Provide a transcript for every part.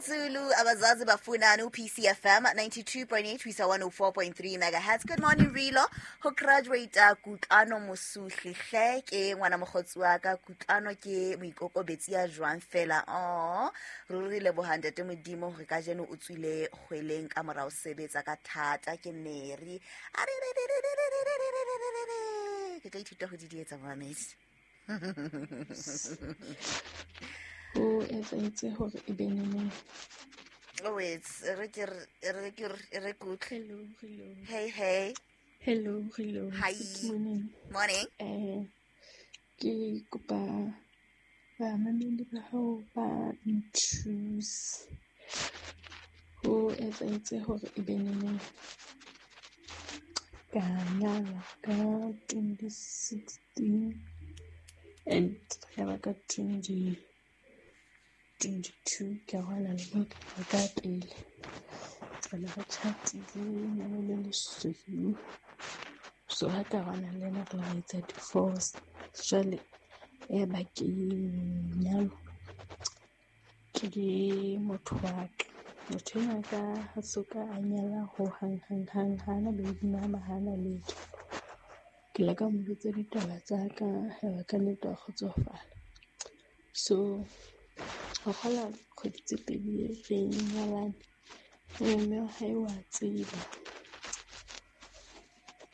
Zulu abazazi bafunani u-PCFM 92.8 ho isa 104.3 megahertz. Good morning Rilo. Ho graduate Kutlwano Mosuhli hle ke ngwana mokgotsi wa ka. Kutlwano ke moikokobetsi ya jwang fela. Oh, ruri leboha ntate Modimo hore kajeno o tswile kgweleng ka mora ho sebetsa ka thata. Ke Mary. Ke tla ithuta ho di dietsa momamedi. Ho etsahetse hore e be neneng? Oh, wait, re ke re ke re ke utlwe. Hello, hello. Hey, hey. Hello, hello. Hi. Good morning. Morning. Ke kopa bamamedi ba hao ba nthuse. Ho etsahetse hore e be neneng ka nyalwa ka 2016 and ya ba ka 2022 ke arohana le molekane wa ka pele. Re ne re tjhatile lenyalo le lesweu. So ha ke arohana le yena re la ra etsa divorce. Jwale ya ba ke nyalwa ke motho wa ka. Motho enwa wa ka ha soka a nyala hohang hang hang, hana baby mama, hana letho. Ke ile ka mo jwetsa ditaba tsa ka, ya ba ka nnete wa kgotsofala. So ho kgola kgwedi tse pedi re nyalane, mme wa hae wa tseba.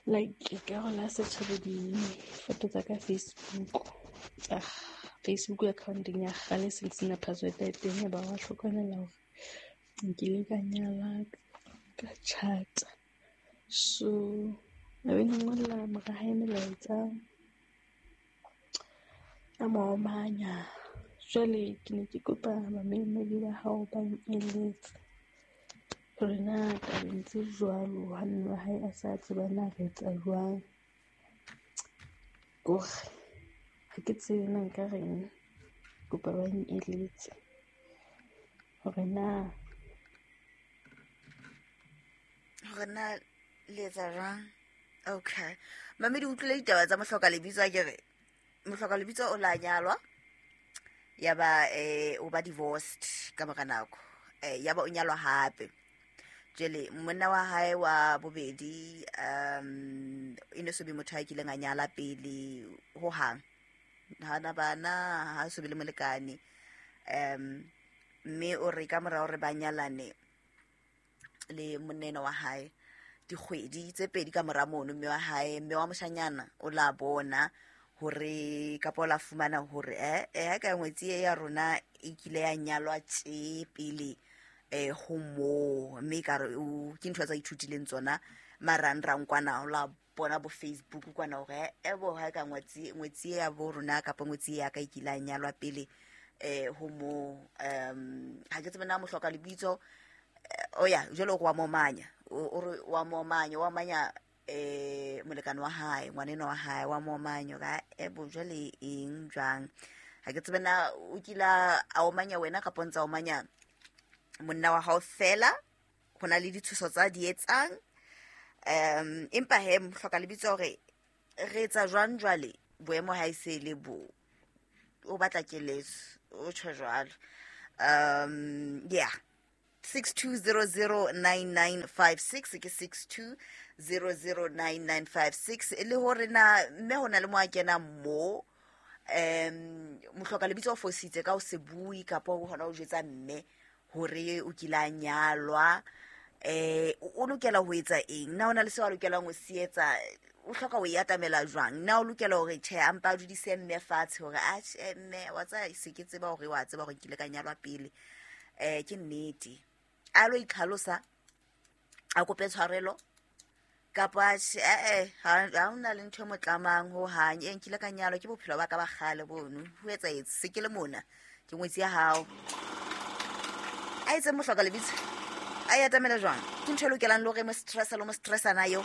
Like ekare la search-a bo difoto tsa ka Facebook, tsa Facebook account-eng ya kgale se sena password ya teng, ya ba wa hlokomela hore nkile ka nyala ka tjhata. So a be ngolla mora hae melaetsa, a mo omanya. Jwale ke ne ke kopa bamamedi ba hao ba eletse hore na tabeng tse jwalo ha mme wa hae a sa tseba na re etsa jwang. Kore ha ke tsebe na nka reng, kopa ba eletse hore na Hore na le etsa jwang. Okay. Mamedi, o utlwile ditaba tsa mohloka lebitso a kere mohloka lebitso o la nyalwa, ya ba o ba divorced ka mora nako, ya ba o nyalwa hape. Jwale monna wa hae wa bobedi e ne so be motho a kileng a nyala pele hohang, hana bana, ha so be le molekane. Mme o re ka mora hore ba nyalane le monna wa hae dikgwedi tse pedi ka mora mono, mme wa hae, mme wa moshanyana o la bona hore kapa o la fumana hore ha ka ngwetsi e ya rona e kile ya nyalwa tje pele ho moo, mme ekare o ke ntho tsa ithutileng tsona marangrang kwana, o la bona bo Facebook kwana hore bo ha ka ngwetsi, ngwetsi ya bo rona kapa ngwetsi ya ka e kile ya nyalwa pele ho moo. Ha ke tsebe na mohloka lebitso o ya jwale o re wa momanya, o re wa momanya, wa manya molekane wa hae, ngwaneno wa hae wa momanya ka bo jwale eng jwang. Ha ke tsebe na o kila a omanya wena kapa o ntsa omanya monna wa hao fela, ho na le ditshoso tsa di etsang. Empa he mohloka lebitso hore re etsa jwang jwale boemo ha e se le bo o batla keletso, o tjho jwalo. Yeah, 62009956 ke 62009956 e le hore na mme ho na le mo a kenang mo mohloka lebitso o fositse ka o se bue kapa o hona o jwetsa mme hore o kile a nyalwa, o lokela ho etsa eng, na o na le seo a lokelang ho se etsa, o hloka ho e atamela jwang, na o lokela hore tjhe a mpa a dudise mme fatshe hore a tjhe mme wa tseba se ke tseba hore wa tseba hore nkile ka nyalwa pele, ke nnete, a lo itlhalosa a kope tshwarelo kapa ha hona le ntho e mo tlamang ho hang, nkile ka nyalwa ke bophelo ba ka ba kgale bono, ho etsahetse se ke le mona ke ngwetsi ya hao. A etse mohloka lebitso a e atamela jwang, ke ntho e lokelang le hore mo stressa le mo stressa na eo.